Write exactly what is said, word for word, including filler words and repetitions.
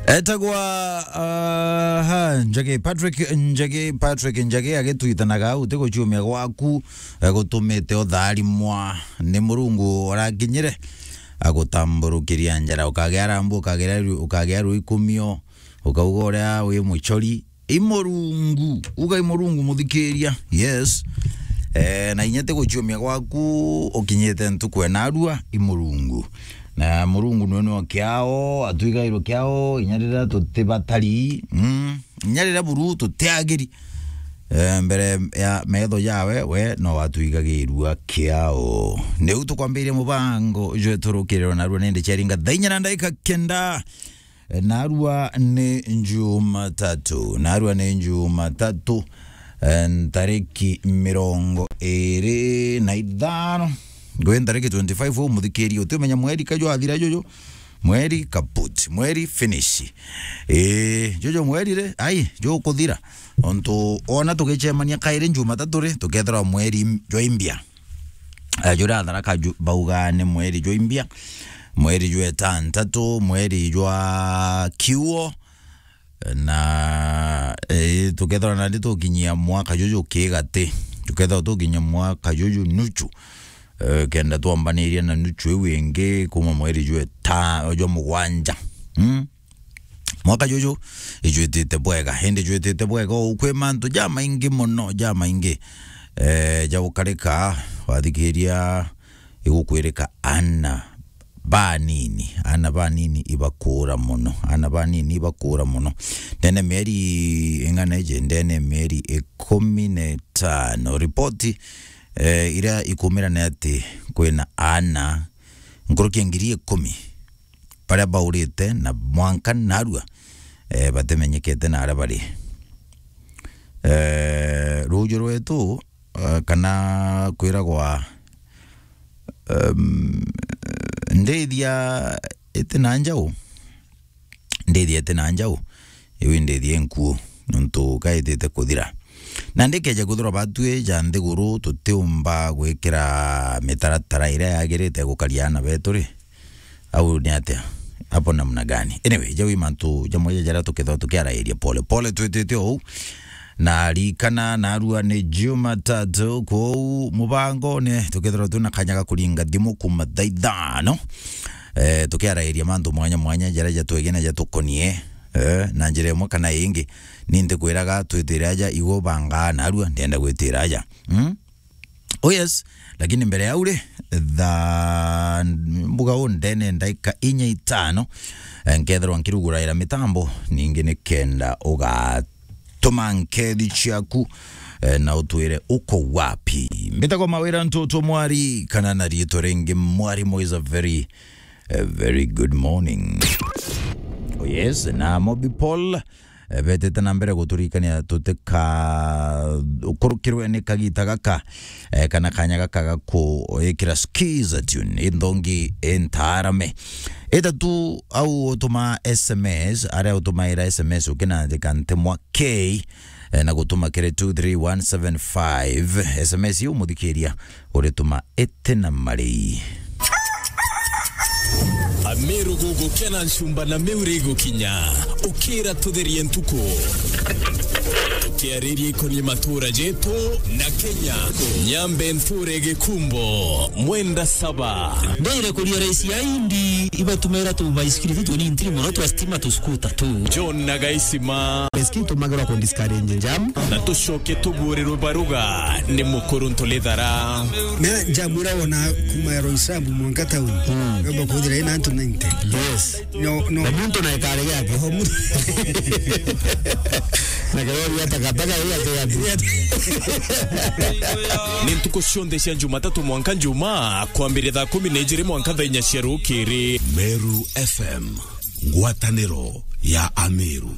Etagwa, aha, Njagi Patrick, Njagi Patrick, Njagi agitwitanaga, "Uti guciumia gwaku, eh, gutumite utharimwa ni Murungu urakinyire, agutamburukiria njara, ukagia rambu, ukagia ru-, ukagia ruikumio, ukauga uria wi mucori." I Murungu, uga i Murungu muthikiria. Yes. Eh, na inya ti guciumia gwaku ukinyite ntuku ena arua, i Murungu. Na Murungu nwe nwe kiao, atwigairwe kiao, inya riria tutibatari, mm, inya riria buru tutiagiri, eh, mbere ya metho jawe, we no watwigagirua kiao. Niu tukwambiria mubango jwetu rukiriro narua nindi ciaringa thaa inya na ndagika kenda. Narua ni Jumatatu, narua ni Jumatatu, eh, ntariki mirongo iri na ithano. Ngwi ntariki twenty-five, u muthikiri, utimenya mweri ka jwathira juju, mweri kaput, mweri finish. Ii, juju mweri ri, ai, jukuthira. Ontu ona tugicemania kairi Jumatatu ri, tukethirwa mweri jwaimbia. Eh, juria Tharaka ju-, bauga ni mweri jwa imbia, mweri jwa itantatu, mweri jwa kiuo, na, eh, tukethirwa nandi tukinyia mwaka juju kigati, tukethirwa tukinyia mwaka juju nuchu, eh, kenda twambaniria na nuchu iu ingi kuma mweri jwa ita-, jwa mugwanja. Mm? Mwaka juju ijwitite bwega, indi jwitite bwega uu kwi mantu jamaingi mono, jamaingi, eh, ja gukarika. Wathikiria igukwirika ana banini, ana banini ibakura mono, ana banini ibakura mono. Ndene mieri ing'ana iji, ndene mieri ikumi na itano, ripoti, eh, iria ikumira ni ati kwina ana nkuruki ya ngiri ikumi baria baurite na mwanka narua, eh, batimenyekete na aria bari. Eh, ruuju rwetu, eh, kana kwiragwa, em, ndithia iti na njau, ndithia iti na njau, iu ndithia inkuu, nontu kaitite kuthira. Na ndikeja kwithirwa batwi ja nthiguru tutiumba gwikira mitaratara iria yagirite gukaria ana betu ri, au ni atia? Hapo namna gani? Anyway, jau i mantu jamwe ja jaria tukethirwa tukiarairia pole pole twitite ou. Na rikana narua ni Jumatatu, kwou mubangone tukethirwa twina kanya ga kuringa thimu kuma thaa ithano, eh, tukiarairia mantu mwanya mwanya jaria jatwegene jatukonie, eh, na njira imwe kana ingi. Ni ntikwiraga twitire aja, igwe ubangaa narua, ndienda gwitira aja. Mm? Oh yes, lakini mbere ya uri, thaa mbuga u ndene ndaika inya itano, eh, nkethirwa nkiruguraira mitambo, ningi ni kenda ugatuma nkethi ciaku, eh, na utwire uko wapi. Mbitagwa Mawira Ntutu Mwari, kana na riitwa ringi Mwarimu is a very, a very good morning. Oh yes, na Mobi Paul, eh, betete na mbere guturikania tutika ukurukirwe ni kagita gaka, eh, kana kanya gaka ga kuikira skiza tune inthongi intaarame. Ita tu au utuma S M S, aria utumaira S M S ukinandika ntemwa K, eh, na gutuma kiri two three one seven five. S M S iu muthikiria urituma iti na marei. Ameru gugukena ncumba na miuri igukinya. Ukira tutherie ntuku. Tukiariria ikonie matura jetu na Kenya. Nyambe nthure Gikumbo, Mwenda Saba. Ndeire kuria raisi ya indi ibatumira tu baisikiri tu tunini mono twa stima tu scooter tu. John na Gaisima. Eski tumagirwa ku discourage jam. Na tucoke tugurirwe baruga ni mukuru Ntulithara. Me njamwira wona kuma ya Roysambu mwanka town. Mm. Yomba kuthira ina antu ninety. Yes. No, no. Na muntu na ikare yake. Oho, muntu. Na karori ya takataka ya yake. Ni ntuku cionthe cia Jumatatu mwanka Njuma, kwambiria thaa kumi na ijiri mwanka thaa inya cia rukiri. Meru F M, ngwataniro ya Ameru.